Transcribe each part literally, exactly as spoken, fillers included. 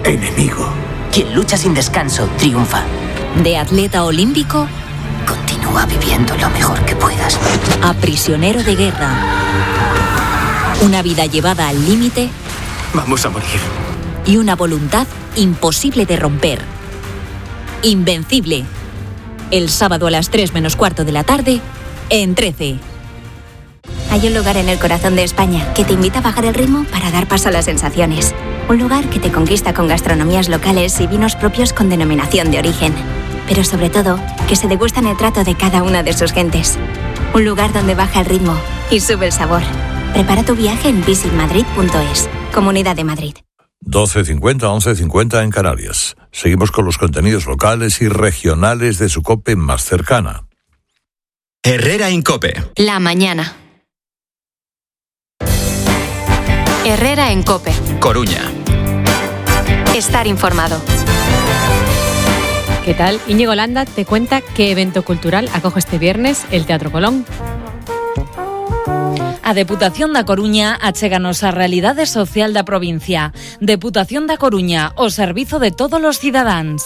enemigo. Quien lucha sin descanso triunfa. De atleta olímpico, continúa viviendo lo mejor que puedas. A prisionero de guerra. Una vida llevada al límite. Vamos a morir. Y una voluntad imposible de romper. Invencible. El sábado a las tres menos cuarto de la tarde, en trece. Hay un lugar en el corazón de España que te invita a bajar el ritmo para dar paso a las sensaciones. Un lugar que te conquista con gastronomías locales y vinos propios con denominación de origen. Pero sobre todo, que se degustan el trato de cada una de sus gentes. Un lugar donde baja el ritmo y sube el sabor. Prepara tu viaje en visit madrid punto es. Comunidad de Madrid. doce cincuenta, once cincuenta en Canarias. Seguimos con los contenidos locales y regionales de su COPE más cercana. Herrera en COPE. La mañana. Herrera en COPE. Coruña. Estar informado. ¿Qué tal? Íñigo Landa te cuenta qué evento cultural acoge este viernes el Teatro Colón. A Deputación da Coruña achéganos a realidade social da provincia. Deputación da Coruña, o servizo de todos os cidadáns.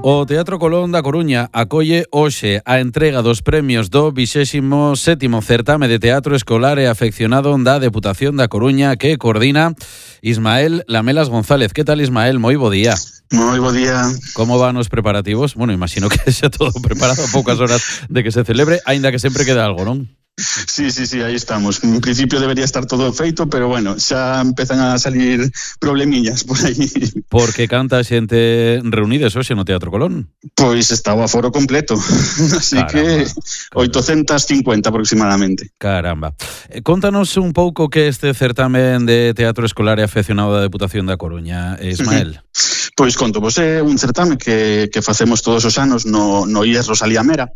O Teatro Colón da Coruña acolle hoxe a entrega dos premios do vixésimo sétimo certame de teatro escolar e afeccionado da Deputación da Coruña que coordina Ismael Lamelas González. Que tal, Ismael? Moi bo día. Moi bo día. Como van os preparativos? Bueno, imagino que xa todo preparado a poucas horas de que se celebre, aínda que sempre queda algo, non? Sí, sí, sí, aí estamos. En principio debería estar todo feito, pero bueno, xa empezan a salir problemillas por aí. Porque canta xente reunides hoxe no Teatro Colón? Pois está o aforo completo, así caramba, que oitocentas cincuenta aproximadamente. Caramba. Eh, contanos un pouco que este certamen de teatro escolar e afeccionado da Deputación da Coruña, Ismael. Uh-huh. Pois conto, vos é un certame que, que facemos todos os anos no, no I E S Rosalía Mera,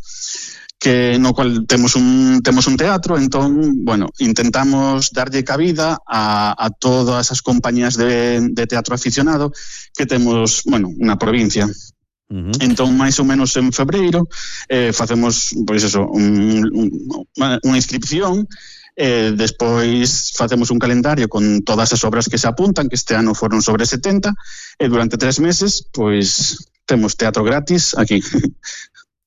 que no cual temos un temos un teatro, entón, bueno, intentamos darlle cabida a, a todas as compañías de, de teatro aficionado que temos, bueno, na provincia. Uh-huh. Entón, máis ou menos en febreiro, eh, facemos, pois eso, un, un, unha inscripción, eh, despois facemos un calendario con todas as obras que se apuntan, que este ano foron sobre setenta, e durante tres meses, pois, temos teatro gratis aquí.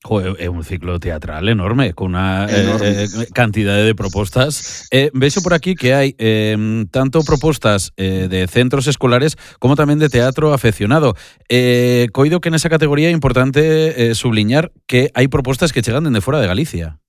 Joder, é un ciclo teatral enorme, con unha eh, cantidade de propostas. Eh, vexo por aquí que hai eh, tanto propostas eh, de centros escolares como tamén de teatro afeccionado. Eh, coido que nesa categoría é importante eh, subliñar que hai propostas que chegan dende fora de Galicia.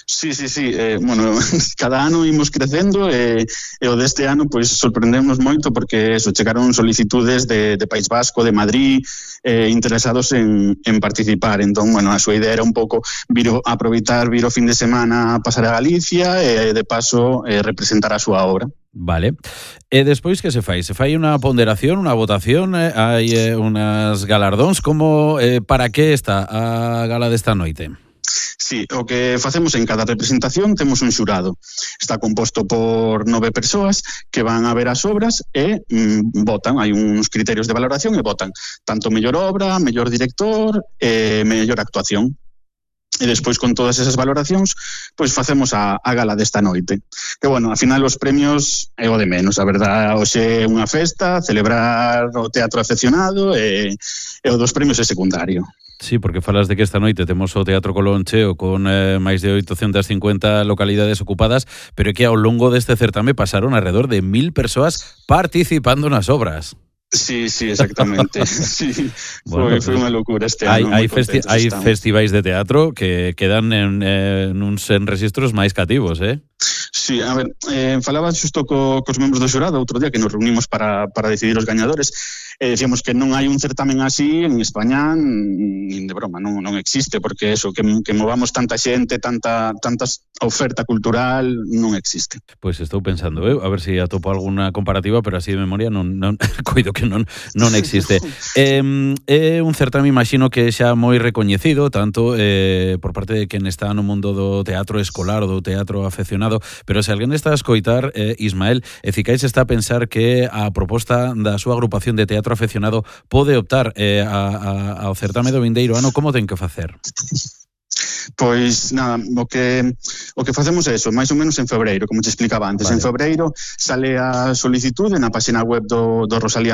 Sí, sí, sí, eh, bueno, cada ano imos crecendo e, e o deste ano pois sorprendemos moito porque eso, chegaron solicitudes de, de País Vasco, de Madrid, eh, interesados en, en participar. Entón, bueno, a súa idea era un pouco vir o, aproveitar, vir o fin de semana a pasar a Galicia e de paso eh, representar a súa obra. Vale. E despois que se fai? Se fai unha ponderación, unha votación, eh, hai eh, unas galardóns, como eh, para que está a gala desta noite? Sí, o que facemos en cada representación temos un xurado. Está composto por nove persoas que van a ver as obras e mm, votan, hai uns criterios de valoración e votan tanto mellor obra, mellor director e mellor actuación. E despois con todas esas valoracións pois facemos a, a gala desta noite. Que bueno, ao final os premios é o de menos, a verdad, hoxe é unha festa, celebrar o teatro afeccionado e, e o dos premios é secundario. Sí, porque falas de que esta noite temos o Teatro Colón cheo con eh, máis de oitocentas cincuenta localidades ocupadas, pero é que ao longo deste certame pasaron alrededor de mil persoas participando nas obras. Sí, sí, exactamente. Sí, bueno, foi, foi unha locura este hai, ano. Hai, festi- hai festivais de teatro que quedan en, eh, nuns en registros máis cativos, eh? Sí, a ver, eh, falaba xusto co, cos membros do xurado outro día que nos reunimos para, para decidir os gañadores e decíamos que non hai un certamen así en España, nin de broma, non, non existe, porque eso, que, que movamos tanta xente, tanta, tanta oferta cultural, non existe. Pois pues estou pensando, eh, a ver se si atopo alguna comparativa, pero así de memoria non, non coido que non, non existe. eh, é un certame, imagino que xa moi recoñecido, tanto eh, por parte de quen está no mundo do teatro escolar ou do teatro afeccionado, pero se alguén está a escoitar, eh, Ismael, e Cicais está a pensar que a proposta da súa agrupación de teatro afeccionado pode optar eh, a, a, ao certame do vindeiro ano, como ten que facer? Pois nada, o que o que facemos é eso, máis ou menos en febreiro, como te explicaba antes. Vale. En febreiro sale a solicitude na página web do, do Rosalía